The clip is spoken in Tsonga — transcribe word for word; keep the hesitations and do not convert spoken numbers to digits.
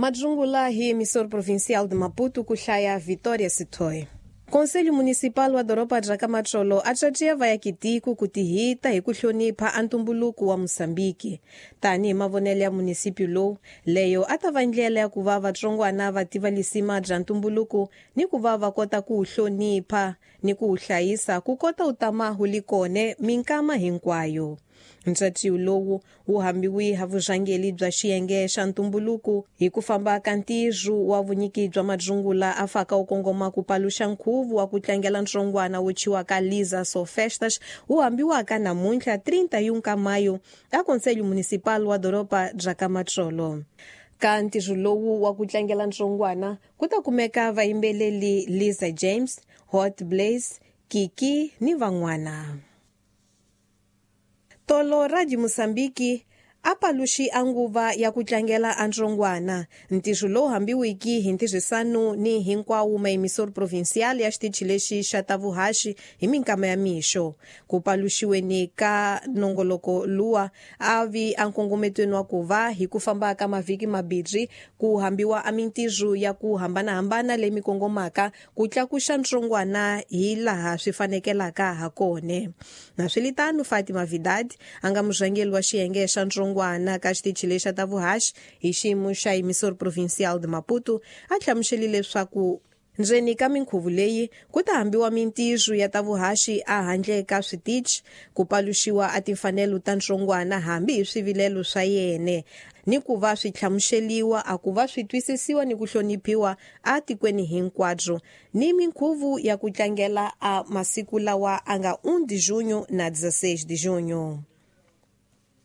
Madzungula hi emissor provincial de Maputo ku hlaya Vitória Sitoy. Conselho Municipal wa doroba bya Kamatsolo a tsatsiya vayakitiko ku tihita hi ku hlonipha a ntumbuluko wa Mosambiki. Tanihi mavonelo ya munisipio lowu, leyo a ta va ndlela ya ku va vatsongwana va tiva lisima bya ntumbuluko ni ku va va kota ku wu hlonipha ni ku wu hlayisa ku kota wu tama wu li kone minkama hinkwayo. Ntsatiwo lowu wu hambiwi ha vurhangeri bya xiyenge xa ntumbuluko hi ku famba ka ntirho wa vunyiki bya madzungula a faka wu kongoma ku paluxa nkhuvo wa ku tlangela ntsongwana wo tshwiwaka Liza Sofestas wu hambiwaka namuntlha trinta e um ka maio a Conselho Municipal wa doroba bya Kamatsolo. Ka ntirho lowu wa ku tlangela ntsongwana ku ta kumeka vayimbeleri Liza James, Hot Blaze, Kiki ni van'wana. Tolo Radio Mosambiki a paluxi a nguva ya ku tlangela a ntsongwana ntirho lowu hambiwiki hi ntirhisano ni hinkwawo maemisor provincial ya xitichi lexi xa ta vuhaxi hi minkama ya mixo. Ku paluxiweni ka nongoloko luwa a vi a nkongometweni wa ku va hi ku famba ka mavhiki mabirhi ku hambiwa a mintirho ya ku hambanahambana leyi mi kongomaka ku tlakuxa ntsongwana hi laha swi fanekelaka ha kone. Naswilitano Fatima Vidad a nga murhangeri wa xiyenge xa ntsongwana ka xitichi lexi xa ta vuhaxi hi xiyimo xa emissor provincial de Maputo a hlamusele leswaku ndzeni ka minkhuvo leyi ku ta hambiwa mintirho ya ta vuhaxi a handle ka switichi ku paluxiwa a timfanelo ta ntsongwana hambi hi swivilelo swa yena ni ku va swi hlamuseliwa a ku va swi twisisiwa ni ku hloniphiwa a tikweni hinkwabyo ni minkhuvo ya ku tlangela a masiku lawa a nga um de junho na dezesseis de junho.